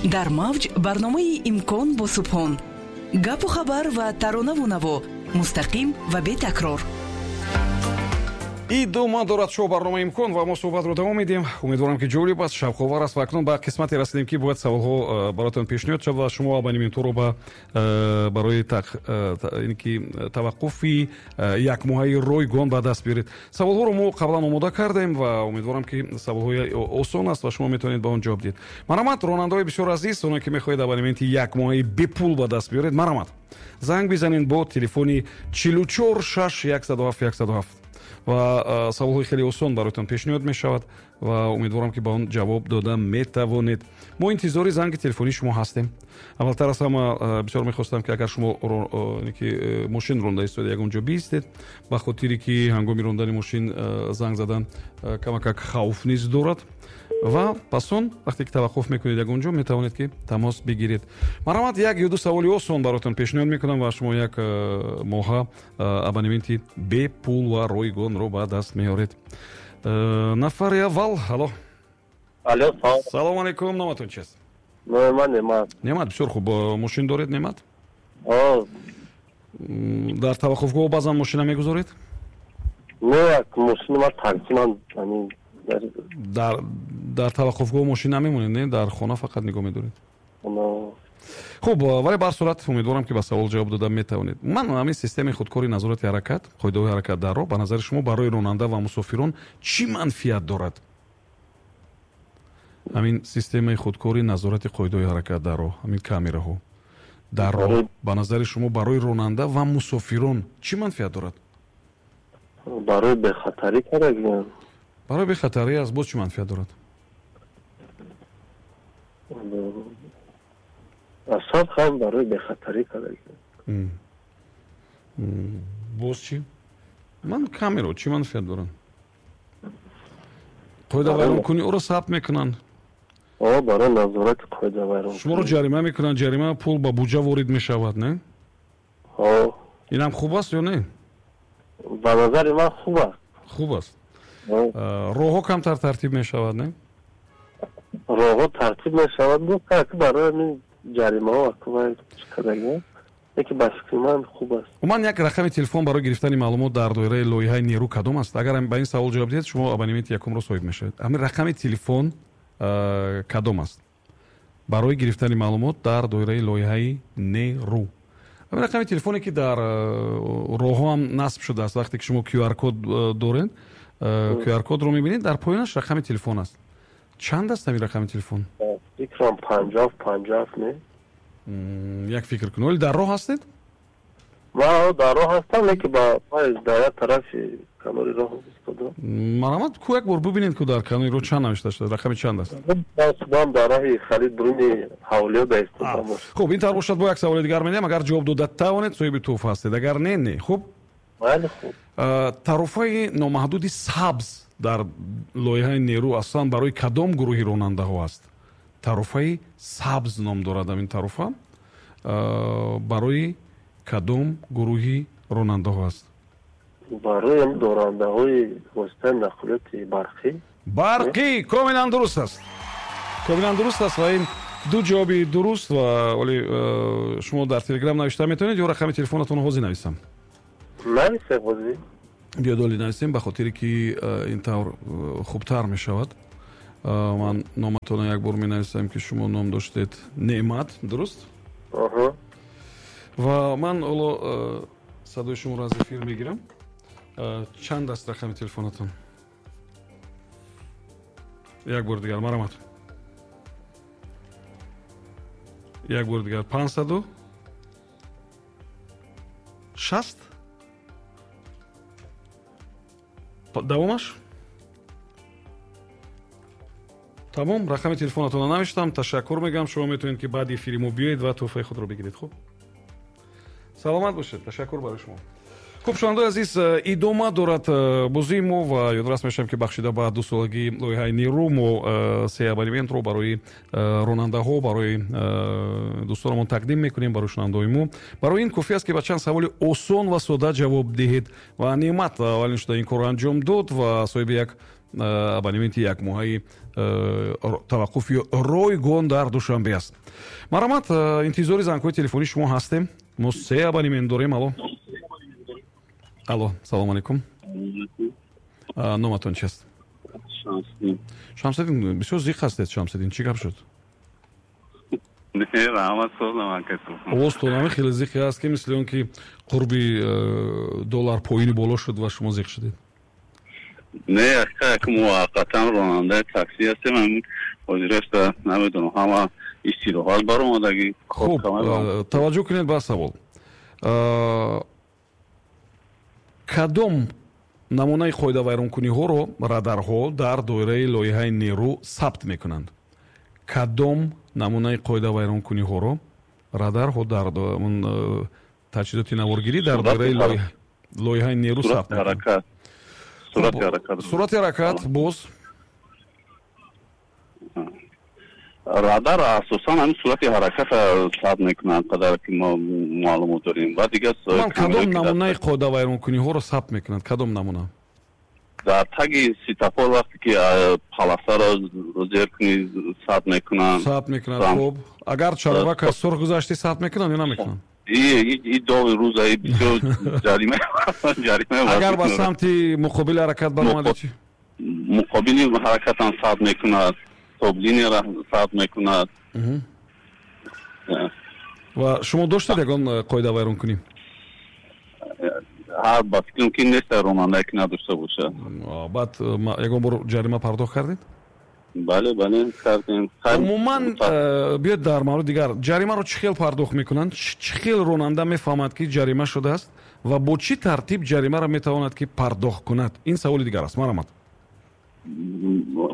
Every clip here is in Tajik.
Дар мавҷ барномаи «Имкон» бо Субҳон. Гапу хабар ва таронаву наво, мустақим ва бетакрор. Идома дорад шоу барномаи «Имкон» ва мо суҳбатро давом медиҳем. Умедворам, ки ҷолиб аст, шавқовар аст. Ва акнун ба қисмате расидем, ки бояд саволҳо бароятон пешниҳод шавад ва шумо абонементҳоро барои ки таваққуфи якмоҳаи ройгон ба даст биёред. Саволҳоро мо қаблан омода кардем ва умедворам, ки саволҳои осон аст ва шумо метавонед ба он ҷавоб диҳед. Марҳамат, ронандаҳои бисёр азиз, оне ки мехоҳед абонементи якмоҳаи бепул ба даст биёред, марҳамат, занг бизанед бо телефони 44 6 107 107 ва саволҳои хеле осон бароятон пешниҳод мешавад ва умедворам, ки ба он ҷавоб дода метавонед. Мо интизори занги телефонии шумо ҳастем. Аввалтар аз ҳама, бисёр мехостам, ки агар шумо ки мошин ронда истода, ягон ҷо биистед, ба хотире ки ҳангоми рондани мошин занг задан камакак хавф низ дорад. Ва пас он вақте ки таваққуф мекунед ягон ҷо, метавонед, ки тамос бигиред. Марҳамат, як ё ду саволи осон бароятон пешниҳод мекунам ва шумо як моҳа абонементи бепул ва ройгонро ба даст меоред. Нафари аввал, алло. Алло. Салому алайкум, номатон чист? Номи ман Немат. Немат, бисёр хуб. Мошин доред, Немат? Дар таваққуфгоҳ баъзан мошина мегузоред? Не, мошини ман такси, ман. Дар таваққуфгоҳ мошин намемонед, не? Дар хона фақат нигоҳ медоред. Хуб, вале ба ҳар сурат умедворам, ки ба савол ҷавоб дода метавонед. Ман ҳамин системаи худкори назорати ҳаракат, қоидаҳои ҳаракат дар роҳ, ба назари шумо барои ронанда ва мусофирон чӣ манфиат дорад? Ҳамин системаи худкори назорати қоидаҳои ҳаракат дар роҳ, ҳамин камераҳо дар роҳ, ба назари шумо барои ронанда ва мусофирон чӣ манфиат дорад? Барои бехатарӣ кардагиам. Барои бехатарӣ аст, боз чӣ манфиат дорад? Асос ҳам барои бехатарӣ кардагиам. Боз чӣ? Ман камеро чӣ манфиат доранд? Қоидавайронкунӣ ӯро сабт мекунанд. Барои назорати қоидавайрон. Шуморо ҷарима мекунанд, ҷарима пул ба буҷа ворид мешавад, не? Инам хуб аст ё не? Ба назари ман хуб аст. Хуб аст. Роҳҳо камтар тартиб мешавад, не? Роҳҳо тартиб мешавад, барои ҳамин ҷаримаҳо кардагиам, яке ба фикри ман хуб аст. Умуман, як рақами телефон барои гирифтани маълумот дар доираи лоиҳаи «Нерӯ» кадом аст? Агар ба ин савол ҷавоб диҳед, шумо абонементи якумро соҳиб мешавед. Ҳамин рақами телефон кадом аст барои гирифтани маълумот дар доираи лоиҳаи «Нерӯ»? Ҳамин рақами телефоне, ки дар роҳҳо ҳам насб шудааст. Вақте ки шумо QR код доред, QR кодро мебинед, дар поёнаш рақами телефон аст. Чанд аст ҳамин рақами телефон? Фикрам 50 50, не? Як фикр кун. Оли дар роҳ ҳастед? Ман дар роҳ ҳастам, лекин ба дар як тарафи канори роҳ истодам. Марҳамат, ку як бор бубинед, ку дар канори роҳ чанд навишта шуда, рақами чанд аст? Худам дар роҳи харид буруни ҳавлиё да истодам. Хуб, ин тавр бошад, бо як саволи дигар медиҳам. Агар ҷавоб дода тавонед, соҳиби тӯҳфа ҳастед, агар не, не. Хуб. Майли, хуб. Тарофаи номаҳдуди сабз дар лоиҳаи «Нерӯ» аслан барои кадом гурӯҳи ронандаҳо аст? Тарофаи сабз ном дорад ҳамин тарофа, барои кадом гурӯҳи ронандаҳо аст? Барои дорандаҳои воситаи нақлиёти барқӣ. Барқӣ, комилан дуруст аст, комилан дуруст аст. Ва ин ду ҷавоби дуруст. Ва оли шумо дар Телеграм навишта метавонед ё рақами телефонатонро ҳозир нависам? Нависем ҳозир. Биёд, оли нависем, ба хотире ки ин тавр хубтар мешавад. Ман номатонро як бор менависам, ки шумо ном доштед Неъмат, дуруст? Ва ман ҳоло садои шуморо аз эфир мегирам. Чанд аст рақами телефонатон, як бори дигар, марҳамат, як бори дигар. 560, давомаш? Тамом, рақами телефонатонро навиштам, ташаккур мегӯям. Шумо метавонед, ки баъди эфири мо биёед ва тӯҳфаи худро бигиред. Хуб, саломат бошед, ташаккур барои шумо. Хуб, шунавандаои азиз, идома дорад бозии мо ва ёдрас мешавам, ки бахшида ба дусолагии лоиҳаи «Нерӯ» мо се абонементро барои ронандаҳо, барои дӯстонамон тақдим мекунем, барои шунавандаҳои мо. Барои ин кофӣ аст, ки ба чанд саволи осон ва сода ҷавоб диҳед. Ва Неъмат аввалин шуда ин корро анҷом дод ва соҳиби як Абонементи якмоҳаи таваққуфи ройгон дар Душанбе аст. Марҳамат, интизори зангҳои телефонии шумо ҳастем. Мо се абонемент дорем. Алло, алло, салому алайкум. Номатон чист? Шамсиддин. Бисёр зиқ ҳастед, Шамсиддин, чӣ гап шуд? Овозтон хеле зиқе аст, ки мисли он ки қурби доллар поини боло шуд ва шумо зиқ шудед. Не, як муваққатан ронандаи такси ҳастем. Ҳозираста намедонам, ҳама истироҳат баромадагӣ. Хуб, таваҷҷӯҳ кунед ба савол. Кадом намунаи қоидавайронкуниҳоро радарҳо дар доираи лоиҳаи нерӯ сабт мекунанд? Кадом намунаи қоидавайронкуниҳоро радарҳо дар таҷҳизоти наворгирӣ дар доираи лоиҳаи нерӯ сабт мекунанд? Суръати ҳаракат. Боз? Радар асосан ҳамин суръати ҳараката сабт мекунанд, қадар ки мо маълумот дорем. Ва дигар кадом намунаи қоидавайронкуниҳоро сабт мекунанд? Кадом намуна? Дар таги светофор вақте ки полосаро зер кунӣ, сабт мекунанд. Сабт мекунанд. Хуб, агар чароғак аз сурх гузаштӣ, сабт мекунанд ё намекунанд? И доғи рӯза бисёр ҷарима. Агар ба самти муқобили ҳаракат баромадӣ чӣ? Муқобили ҳаракатам сабт мекунад, стоп-линияро сабт мекунад. Ва шумо доштед ягон қоидавайронкунӣ? Ҳар ба фикрам, ки нест ронандае, ки надошта бошад. Баъд ягон бор ҷарима пардохт кардед? Бале, бале, кардем. Умуман, биёед дар мавриди дигар. Ҷаримаро чӣ хел пардохт мекунанд? Чӣ хел ронанда мефаҳмад, ки ҷарима шудааст, ва бо чӣ тартиб ҷаримаро метавонад, ки пардохт кунад? Ин саволи дигар аст. Марҳамат.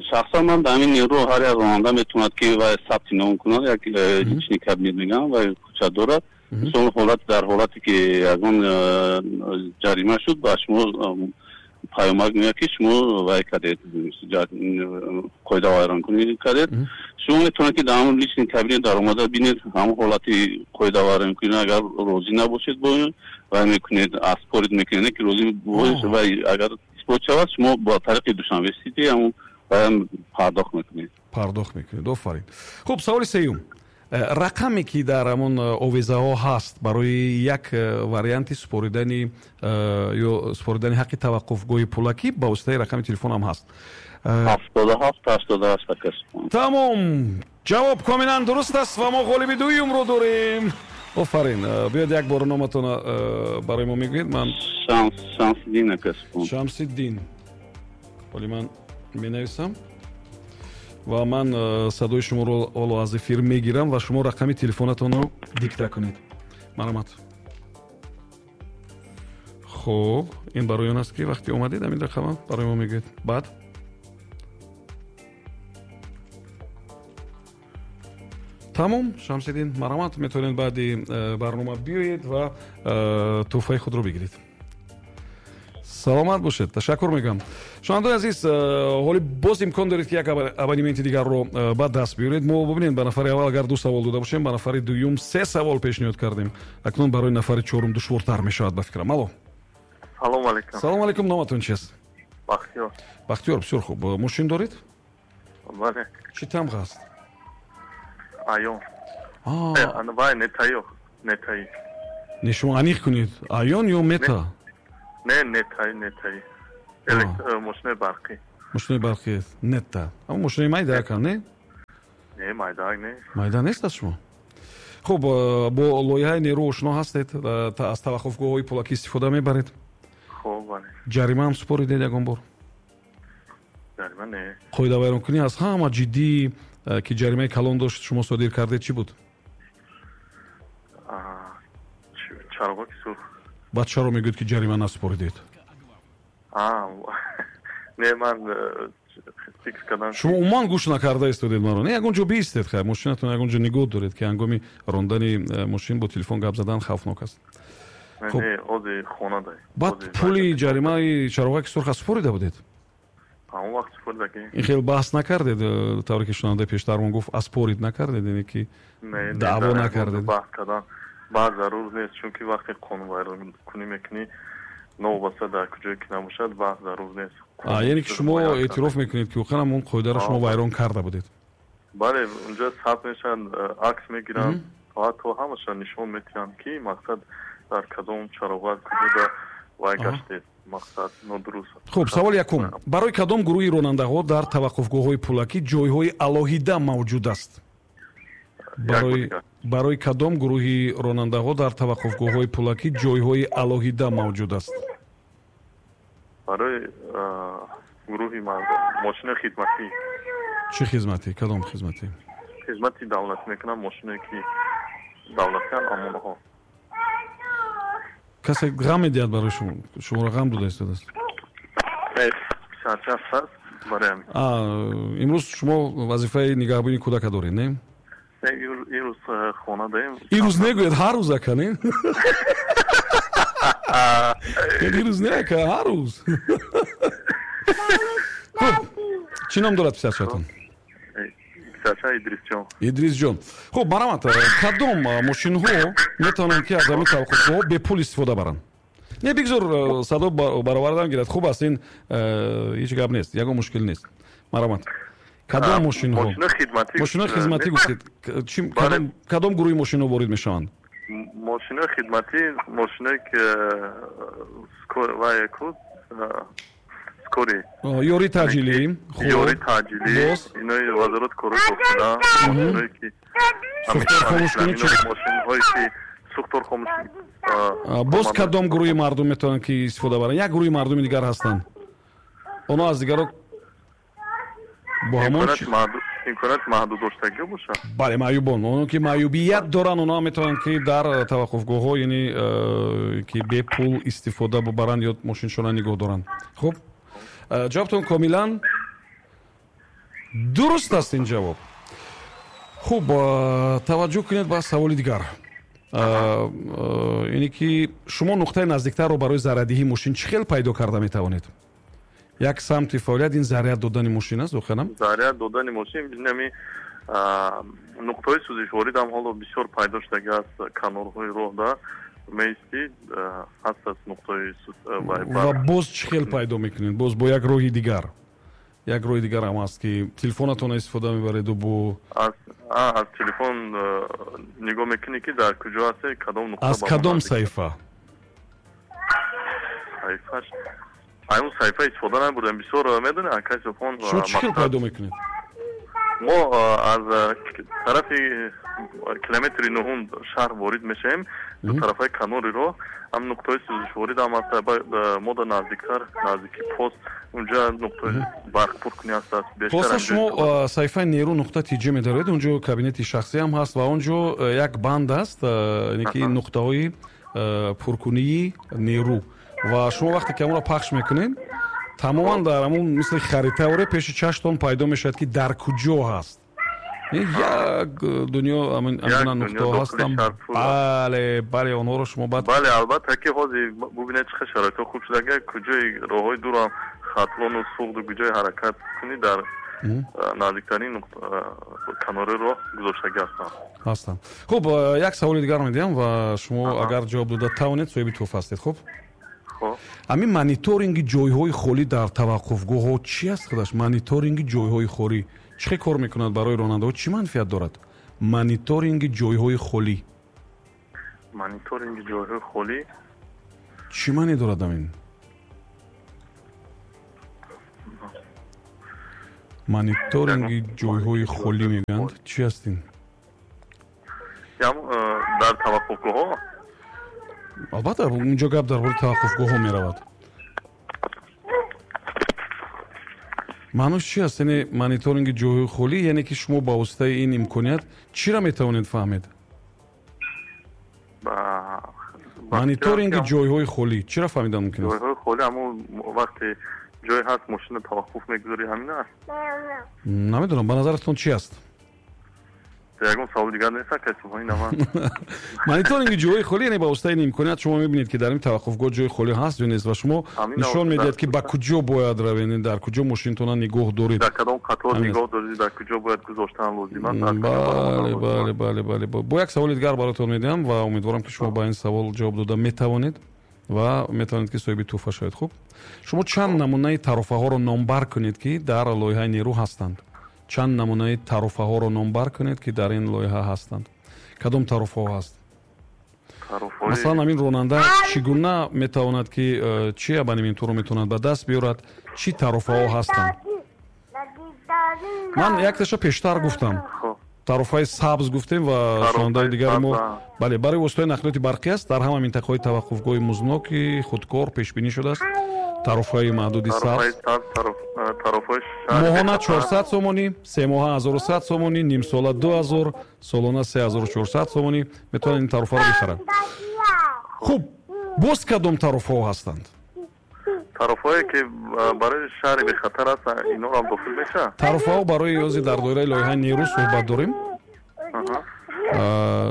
Шахсан ман дар ҳамин нерӯ ҳар як ронанда метавонад, ки вай сабти ном кунад, як личный кабинет мегӯям, вай кӯча дорад. Мисол, ҳолат дар ҳолате ки ягон ҷарима шуд, ба шумо паёмак меояд, ки шумо вай кардед, қоидавайронкунӣ кардед. Шумо метавонед, ки дар ҳамон личный кабинет даромада бинед ҳамон ҳолати қоидавайронкунӣ. Агар розӣ набошед бо он, вай мекунед, оспорить мекунед, ки розӣ бошед, вай агар исбот шавад, шумо ба тариқи Душанбе Сити ҳамон вайам пардохт мекунед. Пардохт мекунед. Офарин. Хуб, саволи сеюм. Рақаме ки дар ҳамон овезаҳо ҳаст барои як варианти супоридани ё супоридани ҳаққи таваққуфгоҳи пулакӣ ба воситаи рақами телефон ҳам ҳаст. 77 88. Тамом, ҷавоб комилан дуруст аст ва мо ғолиби дуюмро дорем. Офарин. Биёед, як бор номатона барои мо мегӯед. Ман Шамсиддин, ака. Шамсиддин. Ҳоли ман менависам ва ман садои шуморо ҳоло аз эфир мегирам ва шумо рақами телефонатонро дикта кунед. Марҳамат. Хуб, ин барои он аст, ки вақте омадед, ҳамин рақама барои мо мегӯед. Баъд тамом. Шамсиддин, марҳамат, метавонед баъди барнома биёед ва тӯҳфаи худро бигиред. Саломат бошед, ташаккур мегӯям. Шунавандаои азиз, ҳоли боз имкон доред, ки як абонементи дигарро ба даст биёред. Мо, бубинед, ба нафари аввал агар ду савол дода бошем, ба нафари дуюм се савол пешниҳод кардем. Акнун барои нафари чорум душвортар мешавад, ба фикрам. Алло. Салому алайкум. Салому алайкум. Номатон чист? Бахтиёр. Бахтиёр, бисёр хуб. Мошин доред? Бале. Чӣ тамға аст? Айон. Вай, нетаё, нетаи. Не, шумо аниқ кунед, Айон ё Мета? Не, нетаи, нетаи, мошинаи барқӣ. Мошинаи барқӣ, Нета. Аммо мошинаи майда ака, не? Не, майда не. Майда нест аз шумо. Хуб, бо лоиҳаи нерӯ ошно ҳастед? Аз таваққуфгоҳҳои пулакӣ истифода мебаред? Хуб, бале. Ҷарима ҳам супоридед ягон бор? Ҷарима не. Қоидавайронкунӣ аз ҳама ҷиддӣ, ки ҷаримаи калон дошт, шумо содир кардед, чӣ буд? Чароғаки сурх. Баъд чаро мегӯед, ки ҷарима насупоридед? Не, ман фикр кардам. Шумо умуман гӯш накарда истодед маро. Не, ягон ҷо биистед, хай, мошинатон ягон ҷо нигоҳ доред, ки ҳангоми рондани мошин бо телефон гап задан хавфнок аст. Не, ози хона дай. Баъд пули ҷаримаи чароғаки сурха супорида будед? Ҳамон вақт супоридаги. Ин хел баҳс накардед, тавре ки шунавандаи пештармон гуфт, оспорить накардед, яъне ки даъво накардед? Баҳс кардан баъд зарур нест, чунки вақте қонунвайронкунӣ мекунӣ, новобаста дар куҷое ки набошад, баҳс зарур нест. Яъне ки шумо эътироф мекунед, ки воқеан он қоидаро шумо вайрон карда будед? Бале, унҷа сабт мешаванд, акс мегиранд, ҳатто ҳамаша нишон метиҳанд, ки мақсад дар кадом чароғак куҷода вай гаштед, мақсад нодуруст. Хуб, саволи якум: барои кадом гурӯҳи ронандаҳо дар таваққуфгоҳҳои пулакӣ ҷойҳои алоҳида мавҷуд аст? Барои кадом гурӯҳи ронандаҳо дар таваққуфгоҳҳои пулакӣ ҷойҳои алоҳида мавҷуд аст? Барои гурӯҳи мошинои хидматӣ. Чӣ хизматӣ? Кадом хизматӣ? Хизмати давлатӣ мекунанд, мошиное ки давлатианд, амонҳо. Касе ғам медиҳад барои шумо? Шуморо ғам дода истодааст? Писарча аст, барои ҳамин. Имрӯз шумо вазифаи нигаҳбонии кӯдака доред, не? Имрӯз хона даем. Имрӯз негӯед, ҳар рӯз, ака, не? Имрӯз не, ака, ҳар рӯз. Хуб, чӣ ном дорад писарчатон? Писарча Идрисҷон. Идрисҷон. Хуб, марҳамат, кадом мошинҳо метавонанд, ки аз ҳамин таваққуфгоҳҳо бепул истифода баранд? Не, бигзор садо баровардан гирад. Хуб аст, ин ҳеҷ гап нест, ягон мушкил нест. Марҳамат, кадом мошинҳо? Мошинои хизматӣ гуфтед. Кадом гурӯҳи мошинҳо ворид мешаванд? Мошинои хидматӣ, мошиное ки скорый, ёрии таъҷилӣ. Ёрии таъҷилӣ, инои вазорат корҳои дохила, мошиное ки сӯхтор хомӯшкунӣ, мошинҳое ки сӯхтор хомӯш. Боз кадом гурӯҳи мардум метавонанд, ки истифода баранд? Як гурӯҳи мардуми дигар ҳастанд, онҳо аз дигаро бо ҳамон имконият маҳдуд доштагӣ бошад. Бале, маъюбон, оно ки маъюбият доранд, онҳо метавонанд, ки дар таваққуфгоҳҳо, яъне ки бепул истифода бубаранд ё мошиншона нигоҳ доранд. Хуб, ҷавобтон комилан дуруст аст, ин ҷавоб. Хуб, таваҷҷӯҳ кунед ба саволи дигар. Яъне ки шумо нуқтаи наздиктарро барои заряддиҳии мошин чӣ хел пайдо карда метавонед? Як самти фаъолият ин заряд додани мошин аст, воқеан? Заряд додани мошин, ҳами нуқтаҳои сӯзишворидам ҳоло бисёр пайдо шудагӣ аст, канорҳои роҳда меистӣ, ҳаст аз нуқтаҳои. Ва боз чӣ хел пайдо мекунед? Боз бо як роҳи дигар, як роҳи дигар ҳам аст, ки телефонатонро истифода мебареду бо аз телефон нигоҳ мекунӣ, ки дар куҷо ҳасте, кадом нуқта. Аз кадом саҳифа? Саҳифаш, ай он саҳифа истифода набурдем бисёр, медонӣ, акай Субҳон. Шумо чӣ хел пайдо мекунед? Мо аз тарафи километри нуҳум шаҳр ворид мешавем, ду тарафаи канори роҳ ҳам нуқтаҳои сӯзишворид ҳам аст. Мо да наздиктар, наздики пост, унҷа нуқтаи барқпуркунӣ ҳаст. Хулоса, шумо саҳифаи неру.тж медоред, унҷо кабинети шахсӣ ҳам ҳаст ва онҷо як банд аст, яъне ки нуқтаҳои пуркунии нерӯ, ва шумо вақте ки ҳамонро пахш мекунед, тамоман дар ҳамон мисли харитаоре пеши чаштон пайдо мешавад, ки дар куҷо ҳаст. Як дунё амина нуқтаҳо ҳастанд. Бале, бале, онҳоро шумо баъд Бале, албатта, ки ҳозир бубинед, чӣ хел шароитҳо хуб шуда, куҷои роҳҳои дурам, Хатлону Суғду, куҷои ҳаракат кунӣ, дар наздиктарин канори роҳ гузоштагӣ ҳастанд. Ҳастанд. Хуб, як саволи дигар медиҳам ва шумо агар ҷавоб дода тавонед, соҳиби тӯҳфа ҳастед. Хуб, ҳамин мониторинги ҷойҳои холӣ дар таваққуфгоҳҳо чӣ аст худаш? Мониторинги ҷойҳои холӣ чӣ хел кор мекунад? Барои ронандаҳо чӣ манфиат дорад мониторинги ҷойҳои холӣ? Мониторинги ҷойҳои холӣ. Чӣ маъне дорад ҳамин мониторинги ҷойҳои холӣ мегӯянд? Чӣ аст ин? Дар таваққуфгоҳҳо? Албатта, унҷо гап дар бораи таваққуфгоҳҳо меравад. Маънош чи аст, яъне мониторинги ҷойҳои холӣ? Яъне ки шумо ба воситаи ин имконият чиро метавонед фаҳмед? Мониторинги ҷойҳои холӣ чиро фаҳмидан мумкин аст? Ҷойҳои холӣ, ҳамон вақте ҷой ҳаст, мошина таваққуф мегузорӣ, ҳамин аст. Намедонам, ба назаратон чи аст? Ягон савол дигар нест, акай Субҳон, ина ман. Мониторинги ҷойҳои холӣ, яъне ба воситаи ин имконият шумо мебинед, ки дар ин таваққуфгоҳ ҷои холӣ ҳаст ё нест, ва шумо нишон медиҳад, ки ба куҷо бояд равед, дар куҷо мошинтона нигоҳ доред. Дар кадом қатор нигоҳ доред, дар куҷо бояд гузоштан лозим аст. Бале, бале, бале, бале. Бо як саволи дигар баротон медиҳам ва умедворам, ки шумо ба ин савол ҷавоб дода метавонед. Ва метавонед, ки соҳиби тӯҳфа шавед. Хуб, шумо чанд намунаи тарофаҳоро номбар кунед, ки дар лоиҳаи нерӯ ҳастанд. Чанд намунаи тарофаҳоро номбар кунед, ки дар ин лоиҳа ҳастанд. Кадом тарофаҳо ҳаст? Масалан, ҳамин ронанда чӣ гуна метавонад, ки чӣ абонементҳоро метавонад ба даст биёрад, чӣ тарофаҳо ҳастанд? Ман якташа пештар гуфтам, тарофаи сабз гуфтем ва шунавандаи дигари мо, бале, барои воситаҳои нақлиёти барқӣ аст. Дар ҳама минтақаҳои таваққуфгоҳи музноки худкор пешбинӣ шудааст. Тарофаи маҳдуди сабз моҳона 400 сомонӣ, семоҳа 1100 сомонӣ, нимсола 2000, солона 3400 сомонӣ метавонад ин тарофаро бихарад. Хуб, боз кадом тарофаҳо ҳастанд? Тарофаҳое, ки барои шаҳри бехатар аст, инҳоам дохил мешавад? Тарофаҳо барои ози дар доираи лоиҳаи нерӯ суҳбат дорем.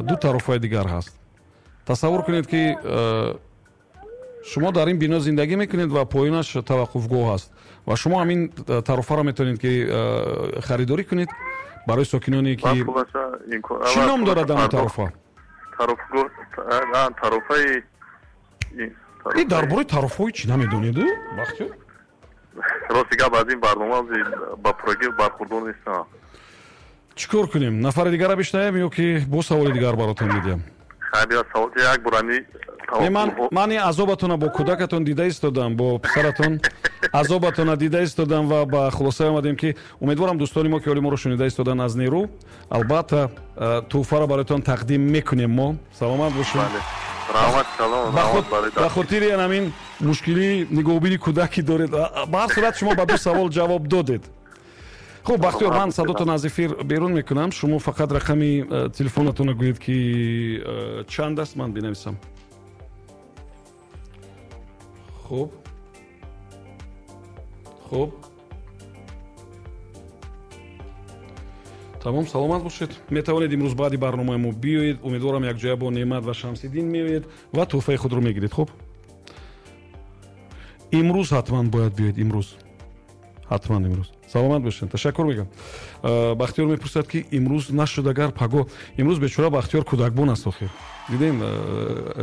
Ду тарофаи дигар ҳаст. Тасаввур кунед, ки шумо дар ин бино зиндагӣ мекунед ва поёнаш таваққуфгоҳ аст ва шумо ҳамин тарофаро метавонед, ки харидорӣ кунед барои сокиноне, ки чӣ ном дорад ҳамин тарофа? Тарофаи И дар бораи тарофҳои чӣ намедонеду, Бахтиёр? Рости гап, аз ин барнома ба пуррагӣ бархурдор нестам. Чӣ кор кунем, нафари дигара бишнавем ё ки бо саволи дигар баротон медиҳам? Як бурани. Ман ин азобатона бо кӯдакатон дида истодам, бо писаратон азобатона дида истодам ва ба хулосае омадем, ки умедворам дӯстони мо, ки ҳоли моро шунида истоданд аз нерӯ, албатта тӯҳфаро бароятон тақдим мекунем мо. Саломат бошед. Ба хотири ҳамин мушкилии нигоҳубини кӯдак, ки доред, ба ҳар сурат шумо ба ду савол ҷавоб додед. Хуб, Бахтиёр, ман садотон аз эфир берун мекунам. Шумо фақат рақами телефонатонро гӯед, ки чанд аст, ман бинависам. Хуб, тамом, саломат бошед. Метавонед имрӯз баъди барномаи мо биёед. Умедворам, якҷоя бо Неъмат ва Шамсиддин меоед ва тӯҳфаи худро мегиред. Хуб, имрӯз ҳатман бояд биёед, имрӯз ҳатман, имрӯз. Саломат бошед, ташаккур мегӯям. Бахтиёр мепурсад, ки имрӯз нашуд агар, паго. Имрӯз бечора Бахтиёр кӯдакбон аст. Охир дидем,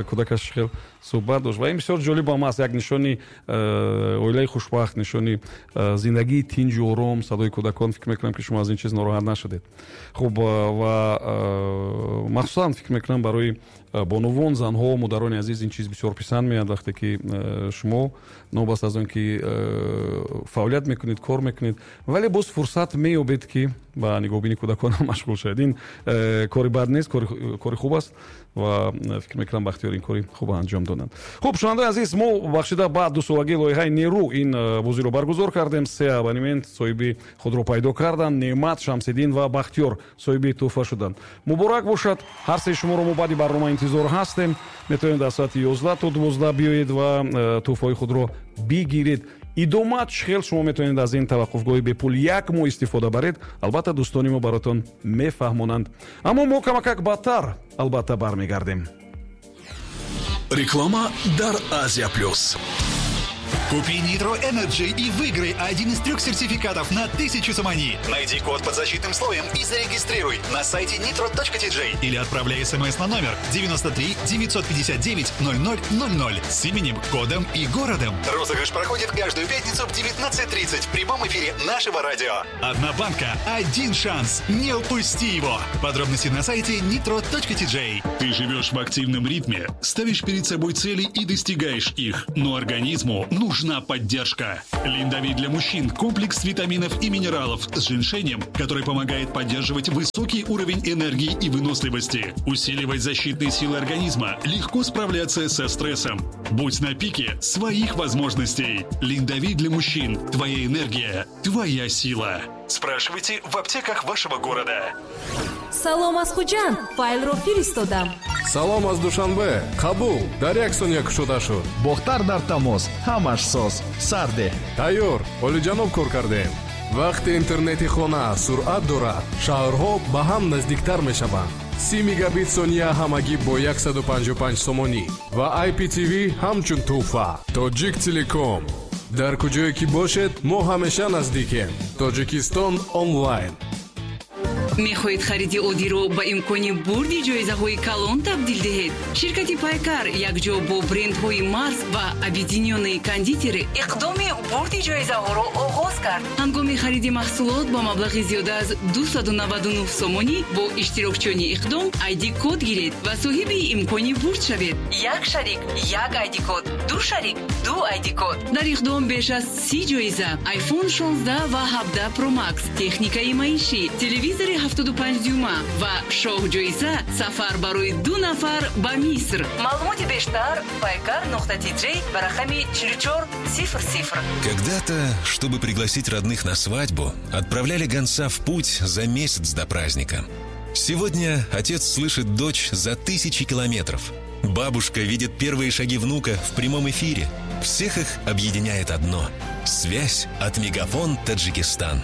кӯдакаш хел суҳбат дошт ва ин бисёр ҷолиб ам аст. Як нишони оилаи хушбахт, нишони зиндагии тинҷу ором, садои кӯдакон. Фикр мекунам, ки шумо аз ин чиз нороҳат нашудед. Хуб, ва махсусан фикр мекунам, барои бонувон, занҳо, модарони азиз ин чиз бисёр писанд меяд, вақте ки шумо новобаста аз он ки фаъолият мекунед, кор мекунед, вале боз фурсат меёбед, ки ба нигоҳубини кӯдакон машғул шавед. Ин кори бад нест, кори хуб аст ва фикр мекунам, Бахтиёр ин кори хуб анҷом доданд. Хуб, шунавандаи азиз, мо бахшида ба дусолагии лоиҳаи нерӯ ин бозиро баргузор кардем. Се абонемент соҳиби худро пайдо карданд. Неъмат, Шамсиддин ва Бахтиёр соҳиби тӯҳфа шуданд. Муборак бошад ҳар сеи шуморо. Мо баъди барнома интизор ҳастем. Метавонед аз соати 11 то 12 биёед ва тӯҳфаҳои худро бигиред. Идома чӣ хел шумо метавонед аз ин таваққуфгоҳи бепул як моҳ истифода баред, албатта дӯстони мо баротон мефаҳмонанд. Аммо мо камакак баъдтар албатта бармегардем. Реклама дар Азия Плюс. Купи Nitro Energy и выиграй один из трех сертификатов на 1000 сомони. Найди код под защитным слоем и зарегистрируй на сайте nitro.tj или отправляй смс на номер 93 959 0000 с именем, кодом и городом. Розыгрыш проходит каждую пятницу в 19.30 в прямом эфире нашего радио. Одна банка, один шанс. Не упусти его. Подробности на сайте nitro.tj. Ты живешь в активном ритме, ставишь перед собой цели и достигаешь их, но организму нужна поддержка. Линдовит для мужчин – комплекс витаминов и минералов с женьшенем, который помогает поддерживать высокий уровень энергии и выносливости, усиливать защитные силы организма, легко справляться со стрессом. Будь на пике своих возможностей. Линдовит для мужчин – твоя энергия, твоя сила. Спрашивайте в аптеках вашего города. Салом аз Хуҷанд, файлро фиристодам. Салом аз Душанбе, қабул, дар як сония кушода шуд. Бохтар дар тамос, ҳамаш соз, сарде. Тайёр, олиҷаноб, кор кардем. Вақте интернети хона суръат дорад, шаҳрҳо ба ҳам наздиктар мешаванд. 30 мегабит сония ҳамагӣ бо 155 сомонӣ ва IPTV ҳамчун тӯҳфа. Тоҷик Телеком, дар куҷое ки бошед, мо ҳамеша наздикем. Тоҷикистон онлайн. Мехоҳед хариди оддиро ба имкони бурди ҷоизаҳои калон табдил диҳед? Ширкати Пайкар якҷо бо брендҳои Марс ва Объединённые кондитеры иқдоми бурди ҷоизаҳоро оғоз кард. Ҳангоми хариди маҳсулот бо маблағи зиёда аз 299 сомонӣ бо иштирокчиёни иқдом ID код гиред ва соҳиби имкони бурд шавед. Як шарик як ID код, ду шарик ду ID код. Дар иқдом беш аз 30 ҷоиза: iPhone 16 ва 17 Pro Max, техникаи маишӣ, телевизори 75 дюйма ва шоҳҷоиза сафар барои ду нафар ба Миср. Маълумоти бештар paykar.tj ба рақами 4400. Когда-то, чтобы пригласить родных на свадьбу, отправляли гонца в путь за месяц до праздника. Сегодня отец слышит дочь за тысячи километров. Бабушка видит первые шаги внука в прямом эфире. Всех их объединяет одно – связь от Мегафон Таджикистан.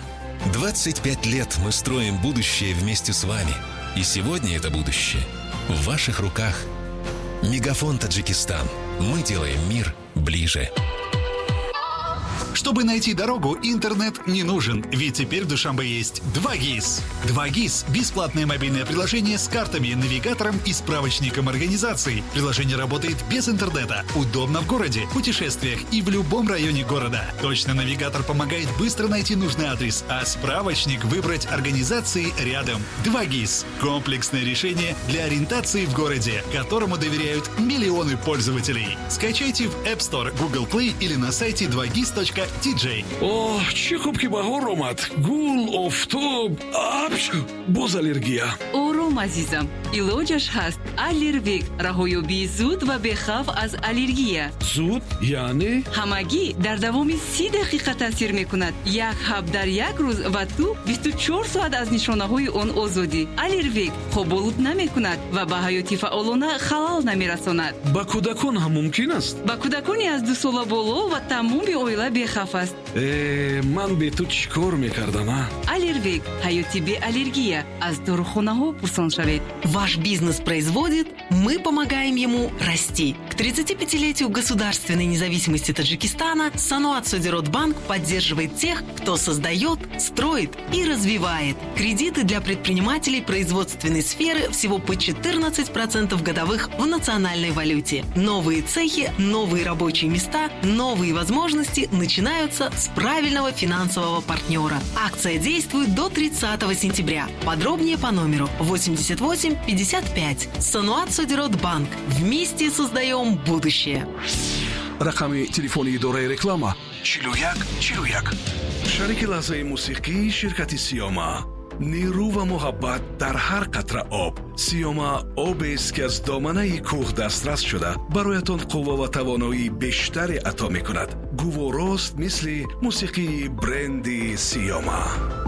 25 лет мы строим будущее вместе с вами. И сегодня это будущее в ваших руках. Мегафон Таджикистан. Мы делаем мир ближе. Чтобы найти дорогу, интернет не нужен, ведь теперь в Душанбе есть 2ГИС. 2ГИС – бесплатное мобильное приложение с картами, навигатором и справочником организаций. Приложение работает без интернета, удобно в городе, путешествиях и в любом районе города. Точно навигатор помогает быстро найти нужный адрес, а справочник выбрать организации рядом. 2ГИС – комплексное решение для ориентации в городе, которому доверяют миллионы пользователей. Скачайте в App Store, Google Play или на сайте 2gis.tj. Оҳ, чӣ хуб ки баҳор омад! Гул, офтоб, апч, боз аллергия. Ором, азизам, илоҷаш ҳаст. Аллервек — раҳоёбии зуд ва бехавф аз аллергия. Зуд яъне? Ҳамагӣ дар давоми 30 дақиқа таъсир мекунад. Як ҳаб дар як рӯз ва ту 24 соат аз нишонаҳои он озодӣ. Аллервек хоболуд намекунад ва ба ҳаёти фаъолона халал намерасонад. Ба кӯдакон ҳам мумкин аст? Ба кӯдакони аз 2 сола боло ва тамоми оила бехавф аст. Э, ман бе ту чӣ кор мекардам, а? Аллервек — ҳаёти беаллергия. Аз дорухонаҳо пурсон шавед. Ваш бизнес производит, мы помогаем ему расти. К 35-летию государственной независимости Таджикистана Саноат Содирот Банк поддерживает тех, кто создает, строит и развивает. Кредиты для предпринимателей производственной сферы всего по 14% годовых в национальной валюте. Новые цехи, новые рабочие места, новые возможности начинаются с правильного финансового партнера. Акция действует до 30 сентября. Подробнее по номеру 88 55. Саноат Содирот Банк. Вместе создаем будущее. Рақами телефони идораи реклама 41 41. Шарики лаҳзаи мусиқӣ ширкати Сиёма. Нерӯ ва муҳаббат дар ҳар қатра об. Сиёма обест, ки аз доманаи кӯҳ дастрас шуда, бароятон қувва ва тавоноии бештаре ато мекунад. Гуворост, мисли мусиқии бренди Сиёма.